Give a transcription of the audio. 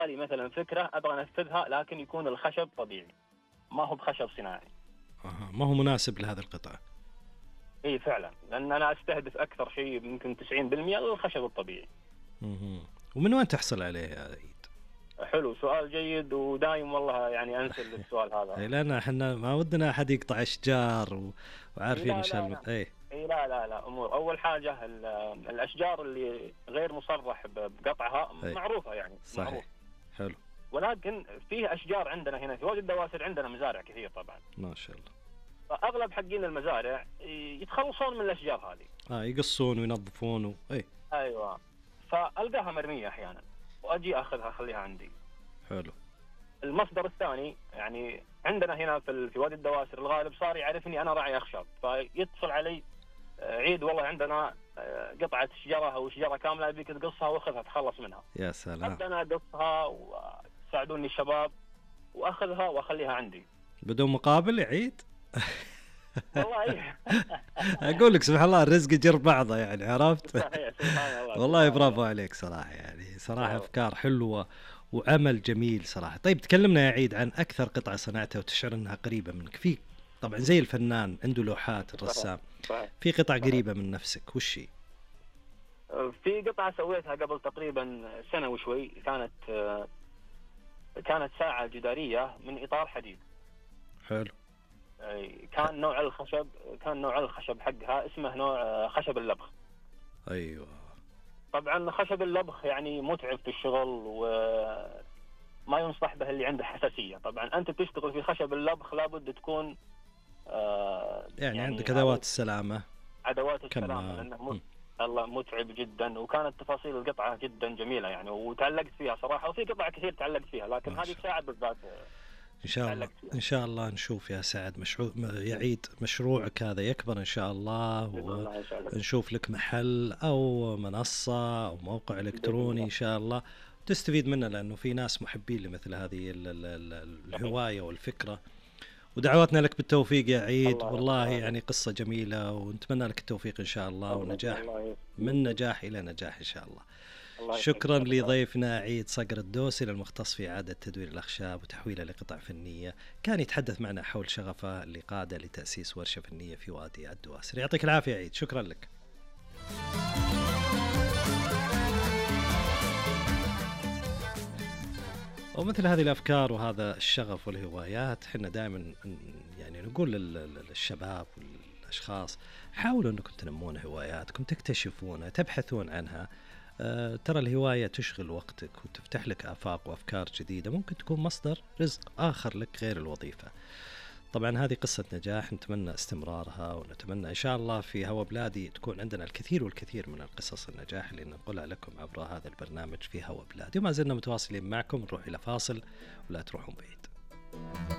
لي مثلا فكرة أبغى أنفذها، لكن يكون الخشب طبيعي ما هو بخشب صناعي. ما هو مناسب لهذه القطعة. إيه فعلا، لأن أنا أستهدف أكثر شيء يمكن 90% الخشب الطبيعي. ومن وين تحصل عليه يا عيد؟ حلو، سؤال جيد، ودايم والله يعني أنسى السؤال هذا. لأن احنا ما ودنا أحد يقطع أشجار وعارفين إن شاء الله. إيه لا أمور. أول حاجة الأشجار اللي غير مصرح بقطعها معروفة يعني. صحيح. معروف. حلو. ولكن فيه أشجار عندنا هنا في وادي الدواسر، عندنا مزارع كثير طبعا ما شاء الله. فأغلب حقين المزارع يتخلصون من الأشجار هذه. يقصون وينظفون أيوة. فألقاها مرمية أحيانا وأجي أخذها أخليها عندي. حلو. المصدر الثاني يعني عندنا هنا في وادي الدواسر الغالب صار يعرفني أنا راعي أخشاب، فيتصل علي عيد والله عندنا قطعة شجرة أو شجرة كاملة أبيك تقصها وأخذها تخلص منها. يا سلام. أبدأ أنا أقصها وساعدوني الشباب وأخذها وأخليها عندي بدون مقابل يا عيد. والله أقول لك سبحان الله الرزق يجر بعضه يعني، عرفت. صحيح. سبحان الله. والله برافو عليك صراحة، يعني صراحة أفكار حلوة وعمل جميل صراحة. طيب تكلمنا يا عيد عن أكثر قطعة صنعتها وتشعر أنها قريبة منك. في طبعا زي الفنان عنده لوحات الرسام، في قطعة قريبة من نفسك وش هي؟ في قطعة سويتها قبل تقريبا سنة وشوي، كانت ساعة جدارية من إطار حديد. حلو. كان نوع الخشب حقها اسمه نوع خشب اللبخ. أيوة. طبعا خشب اللبخ يعني متعب في الشغل وما ينصح به اللي عنده حساسية. طبعا أنت تشتغل في خشب اللبخ لابد تكون يعني عندك أدوات السلامة. لأنه الله متعب جدا. وكانت تفاصيل القطعة جدا جميلة يعني، وتعلقت فيها صراحة، وفي قطع كثير تعلقت فيها، لكن هذه ساعة بالذات إن شاء الله نشوف يا سعد يعيد مشروعك هذا يكبر إن شاء الله، ونشوف لك محل أو منصة أو موقع إلكتروني إن شاء الله تستفيد منه، لأنه في ناس محبين لمثل هذه الهواية والفكرة. ودعواتنا لك بالتوفيق يا عيد. والله يعني قصة جميلة، ونتمنى لك التوفيق إن شاء الله ونجاح من نجاح إلى نجاح إن شاء الله. شكرا لضيفنا عيد صقر الدوسي المختص في إعادة تدوير الأخشاب وتحويلها لقطع فنية، كان يتحدث معنا حول شغفه اللي قاده لتأسيس ورشة فنية في وادي الدواسر. يعطيك العافية عيد، شكرا لك. ومثل هذه الأفكار وهذا الشغف والهوايات حنا دائما يعني نقول للشباب والأشخاص حاولوا أنكم تنمون هواياتكم، تكتشفونها، تبحثون عنها. ترى الهواية تشغل وقتك وتفتح لك آفاق وأفكار جديدة، ممكن تكون مصدر رزق آخر لك غير الوظيفة. طبعا هذه قصة نجاح نتمنى استمرارها، ونتمنى إن شاء الله في هوا بلادي تكون عندنا الكثير والكثير من القصص النجاح اللي ننقلها لكم عبر هذا البرنامج في هوا بلادي. وما زلنا متواصلين معكم، نروح إلى فاصل ولا تروحون بعيد.